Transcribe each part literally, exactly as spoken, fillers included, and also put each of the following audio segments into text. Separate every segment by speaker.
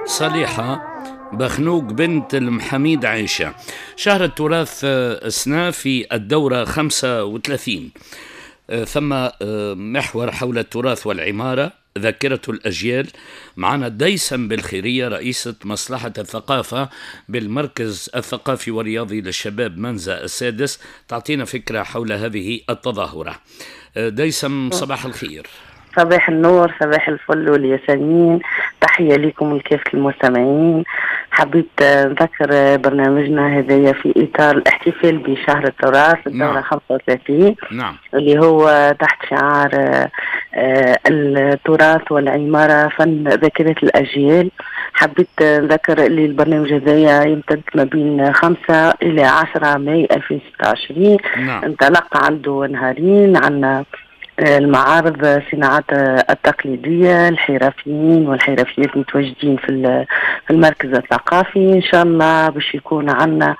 Speaker 1: صليحة بخنوق بنت المحميد عائشة. شهر التراث السنة في الدورة خمسة وثلاثين، ثم محور حول التراث والعمارة ذاكرة الأجيال. معنا ديسم بالخيرية رئيسة مصلحة الثقافة بالمركز الثقافي والرياضي للشباب منزل السادس، تعطينا فكرة حول هذه التظاهرة. ديسم صباح الخير.
Speaker 2: صباح النور، صباح الفل والياسمين، تحية لكم ولكافة المستمعين. حبيت نذكر برنامجنا هذايا في إطار الاحتفال بشهر التراث الدورة نعم. خمسة وثلاثين، نعم. اللي هو تحت شعار التراث والعمارة فن ذاكرة الأجيال. حبيت نذكر اللي البرنامج هذايا يمتد ما بين خمسة إلى عشرة ماي ألفين وستة وعشرين. نعم. انطلق عنده نهارين، عنا المعارض صناعات التقليدية، الحرفيين والحرفيات متواجدين في المركز الثقافي. إن شاء الله باش يكون عنا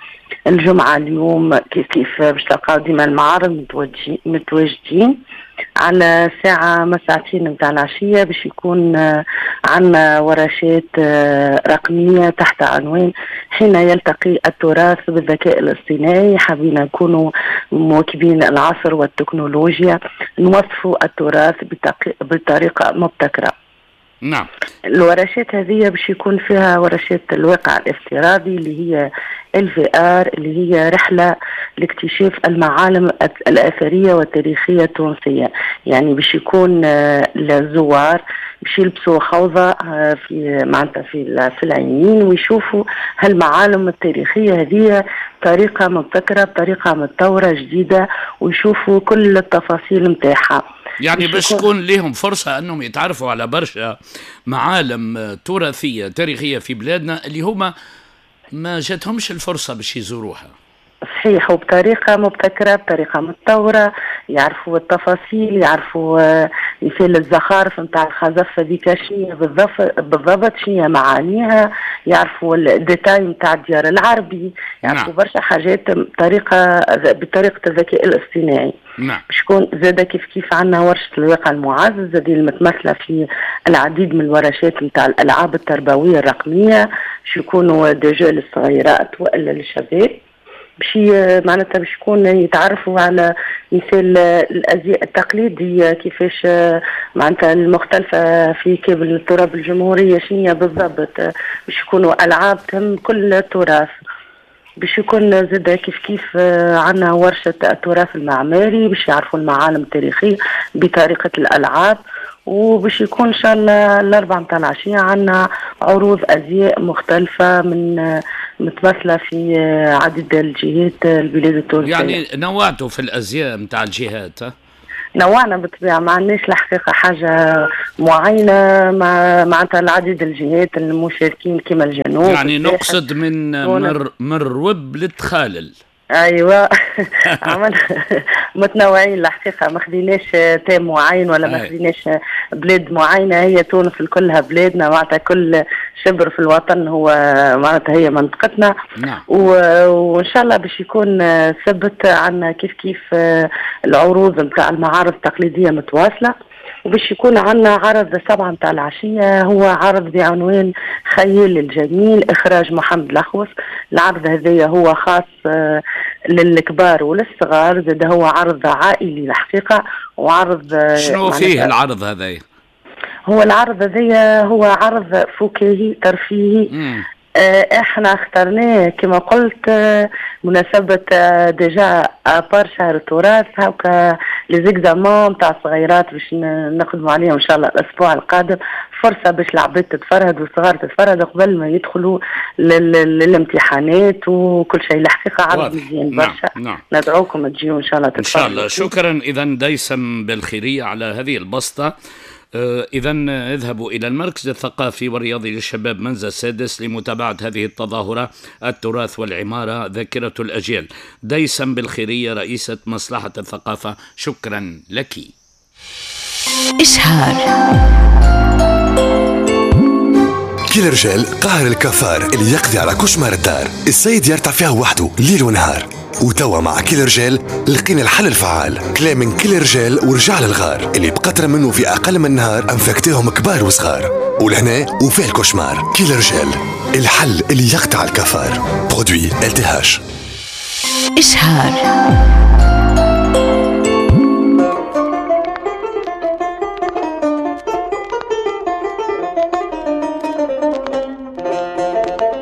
Speaker 2: الجمعة اليوم كيف كيف باش تلقاو ديما المعارض متواجدين على ساعة ما ساعتين متاع العشية، باش يكون عنا ورشات رقمية تحت عنوان حين يلتقي التراث بالذكاء الاصطناعي. حابين نكونوا مواكبين العصر والتكنولوجيا، نوصفوا التراث بطريقة مبتكرة.
Speaker 1: نعم.
Speaker 2: الورشات هذه باش يكون فيها ورشات الواقع الافتراضي اللي هي ال في آر، اللي هي رحلة لاكتشاف المعالم الأثرية والتاريخية التونسية. يعني باش يكون الزوار باش يلبسوا خوضة في معناتها في في العينين ويشوفوا هالمعالم التاريخية هذه بطريقة مبتكرة، بطريقة متطورة جديدة، ويشوفوا كل التفاصيل نتاعها.
Speaker 1: يعني باش تكون لهم فرصة أنهم يتعرفوا على برشا معالم تراثية تاريخية في بلادنا اللي هما ما جاتهمش الفرصة باش يزوروها.
Speaker 2: صحيح، وبطريقة مبتكرة، بطريقة متطورة، يعرفوا التفاصيل، يعرفوا مثال الزخارف نتاع الخزف هذيك شنو بالضبط، شنو معانيها، يعرفوا ال détails نتاع الديار العربي، يعرفوا نعم. برشا حاجات بطريقة بطريقة الذكاء الاصطناعي.
Speaker 1: نعم.
Speaker 2: باش يكون زاده كيف كيف عندنا ورشة الواقع المعزز هذه المتمثلة في العديد من الورشات نتاع الألعاب التربوية الرقمية، باش يكونوا déjà للصغيرات والا للشباب، باش معناتها باش يكون يتعرفوا على مثال الازياء التقليدية كيفاش معناتها المختلفة في كامل التراب الجمهورية شنو بالضبط، باش يكونوا العاب تهم كل التراث. باش يكون زاد كيف كيف عندنا ورشه التراث المعماري باش يعرفوا المعالم التاريخية بطريقة الالعاب. وباش يكون ان شاء الله الاربعة نتاع العشية عندنا عروض ازياء مختلفة من متمثلة في عديد الجهات البلاد التونسية.
Speaker 1: يعني نوعتوا في الازياء نتاع الجهات؟
Speaker 2: نوعنا بالطبيعة، ما عندناش الحقيقة حاجة معينة، مع معناتها العديد الجهات المشاركين كما الجنوب.
Speaker 1: يعني نقصد من من الرب للتخالل.
Speaker 2: ايوه عملنا متنوعين الحقيقة، ما خديناش تام معين ولا ما خديناش بلاد معينة، هي تونس كلها بلادنا، معناتها كل شبر في الوطن هو معناتها هي منطقتنا.
Speaker 1: نعم.
Speaker 2: وان شاء الله باش يكون ثبت عندنا كيف كيف العروض نتاع المعارض التقليدية متواصلة، وباش يكون عندنا عرض سبعة متاع العشية هو عرض بعنوان خيال الجميل إخراج محمد الأخوص. العرض هذايا هو خاص للكبار وللصغار، زاد هو عرض عائلي الحقيقة. وعرض
Speaker 1: شنو فيه العرض هذايا؟
Speaker 2: هو العرض هذايا هو عرض فكاهي ترفيهي.
Speaker 1: مم.
Speaker 2: احنا اخترناه كما قلت مناسبة déjà à part شهر التراث، هاكا les examens نتاع الصغيرات باش نخدموا عليهم ان شاء الله الاسبوع القادم، فرصة باش العباد تتفرهد والصغار تتفرهد قبل ما يدخلوا للامتحانات وكل شيء. الحقيقة عرض مزيان برشا.
Speaker 1: نعم. نعم.
Speaker 2: ندعوكم تجيو ان شاء الله تتفرهدوا
Speaker 1: ان شاء الله. شكرا اذا ديسم بالخيرية على هذه البسطة. إذا اذهبوا إلى المركز الثقافي والرياضي للشباب منزل السادس لمتابعة هذه التظاهرة التراث والعمارة ذاكرة الأجيال. ديسم بالخيرية رئيسة مصلحة الثقافة، شكرا لك.
Speaker 3: إشهار
Speaker 4: كل رجال قاهر الكفار اللي يقضي على كشمار الدار، السيد يرتع فيها وحده ليل ونهار. وتوا مع كل رجال لقينا الحل الفعال، كلام من كل رجال ورجع للغار اللي بقطرة منه في أقل من نهار أنفكتهم كبار وصغار. ولهنا وفيه ال cauchemar. كيلر جel الحل اللي يقطع ال cafard. produit LTH.
Speaker 3: إشهار.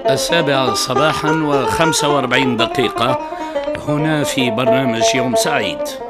Speaker 1: السابعة صباحا وخمسة وأربعين دقيقة هنا في برنامج يوم سعيد.